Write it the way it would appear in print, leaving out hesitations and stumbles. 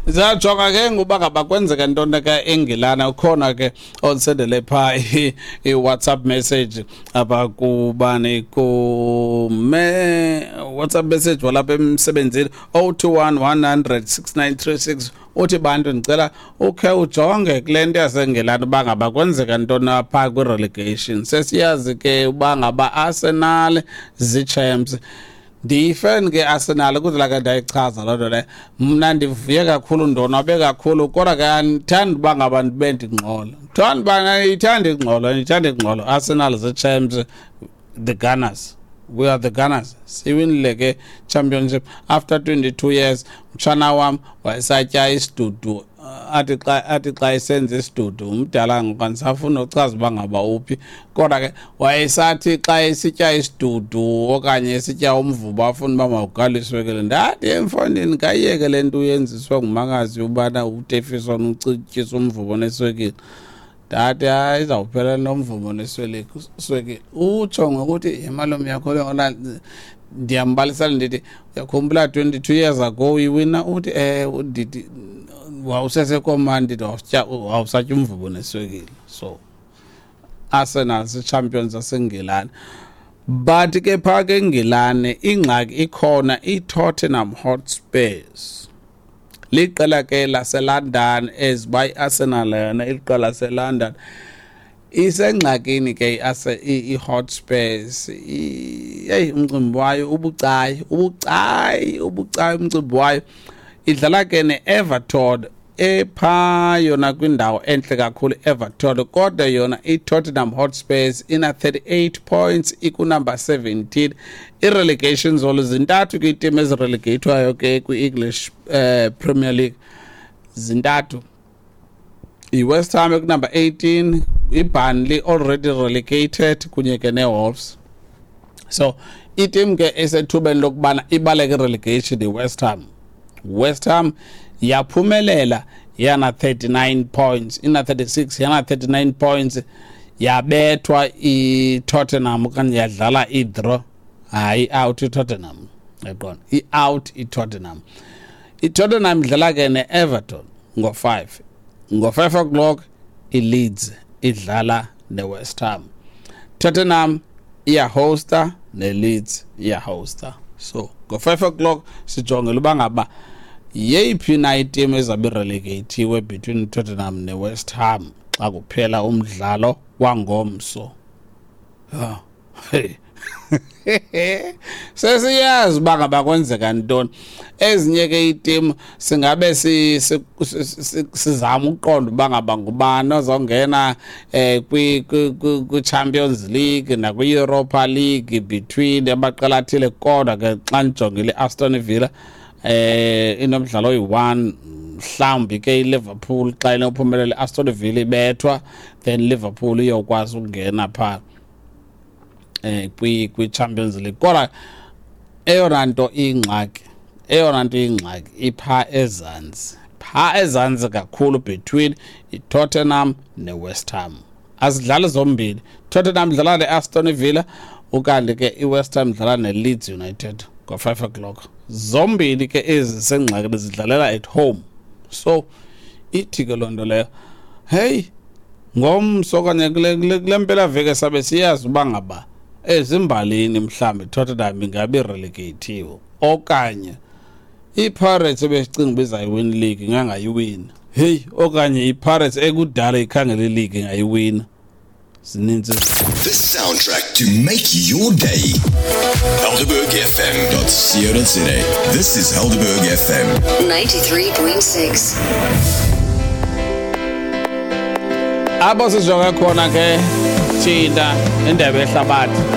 Zajonga ke ngoba ngaba kwenzeka ntoni ke eNgilana. Ukhona ke ondisendele phaa i-WhatsApp message apha kubani, kume WhatsApp message walapha emsebenzini, 021 100 6936. Uthi, "Bantu, ndicela ukhe ujonge kule nto yaseNgilani uba ngaba kwenzeka ntoni apha kwi-relegation. Sesiyazi ke uba ngaba Arsenal zii-champs." Ndiyifan ke Arsenal, kuze ke ndayichaza loo nto leyo. Mna ndivuye kakhulu, ndonwabe kakhulu, kodwa ke andithandi uba ngaba ndibe ndingxola. Thanda uba ndiyithanda ingxolo, ndiyithanda ingxolo. Arsenal zii-champs, the Gunners, we are the Gunners. Siwinile ke championship after 22 years. Mtshana wam wayesatya isidudu, athi xa esenza isidudu, umdala ngoku, andisafuna uchaza uba ngaba uphi, kodwa ke wayesathi xa esitya isidudu okanye esitya umvubo afuna uba mawugaliswe ke le. Ndathi, "Emfondini, kayiyeke le nto uyenziswa ngumakazi ubana utefiswa ucityiswa umvubo neswekile." Ndathi, "Hayi, izawuphela nomvubo neswekile." Utsho ngokuthi imalume yakho lona. Ndiyambalisela, ndithi, "Uyakhumbula 22 years ago uyiwina?" Uthi, "Ndithi wawusesekomani." Ndithi, "Wawusatya umvubo neswekile." So Arsenal si-champions zaseNgilani, but ke phaa ke eNgilane ingxaki ikhona. I-Tottenham Hotspurs liqela ke laseLondon, eziba i-Arsenal yona iliqela laseLondon. Isengxakini ke i-Hotspurs. Heyi, umcimbi wayo ubucayi, ubucayi, ubucayi umcimbi wayo. Idlala ke ne-Everton epha yona kwindawo enhle kakhulu Everton, kodwa yona i-Tottenham Hotspurs ina 38 points, ikunumber 17. I-relegation zone zintathu ke, iiteam ezirelegatwayo ke kwi-English Premier League zintathu: i-West Ham ekunumber 18, iBurnley already relegated, kunye ke ne-Wolves. So iteam ke esethubeni lokubana ibaleke relegation i-West Ham. West Ham yaphumelela yana 39 points, ina 36, yana 39 points. Yabethwa i-Tottenham okanye yadlala i-draw. Hayi, out i-Tottenham, yaqonda, i-out i-Tottenham. I-Tottenham idlala ke ne-Everton ngo-5, ngo-5 o'clock. I-Leeds idlala ne-West Ham. Tottenham iyahosta ne-Leeds iyahosta, so ngo-5 o'clock sijongela uba ngaba yeyiphi na iteam ezabe relegateiwe between Tottenham ne-West Ham xa kuphela umdlalo wangomso. Ah, hey, sesiyazi uba ngaba kwenzeka ntoni. Ezinye ke iiteam singabe sizama ukuqonda uba ngaba ngubani ozongena kwi-Champions League nakwi-Europa League between amaqela athile. Kodwa ke xa ndijongile, i-Aston Villa inomdlalo oyi-1. Mhlawumbi ke iLiverpool xa inophumelela, i-Aston Villa ibethwa, then Liverpool iyokwazi ukungena phaa kwi Champions League. Kodwa eyona nto ingxaki ipha ezantsi, pha ezantsi kakhulu, between iTottenham neWest Ham. Azidlali zombini. Tottenham idlala neAston Villa, ukanti ke iWest Ham idlala neLeeds United ngo-5 o'clock. Zombini ke ezi sengxakini zidlalela at home, so ithi ke loo nto leyo, hey, ngomso okanye kule mpelaveki sabe siyazi uba ngaba ezimbalini mhlawumbi Tottenham ingabe irelegateiwe okanye iPirates ebesicinga uba izayiwina ileague ingangayiwina, heyi, okanye iPirates ekudala ikhangela ileague ingayiwina. Zininzi. The soundtrack to make your day. HelderbergFM.co.za. This is Helderberg FM. 93.6. Apho sijonge khona ke thina, indebe yehlabathi.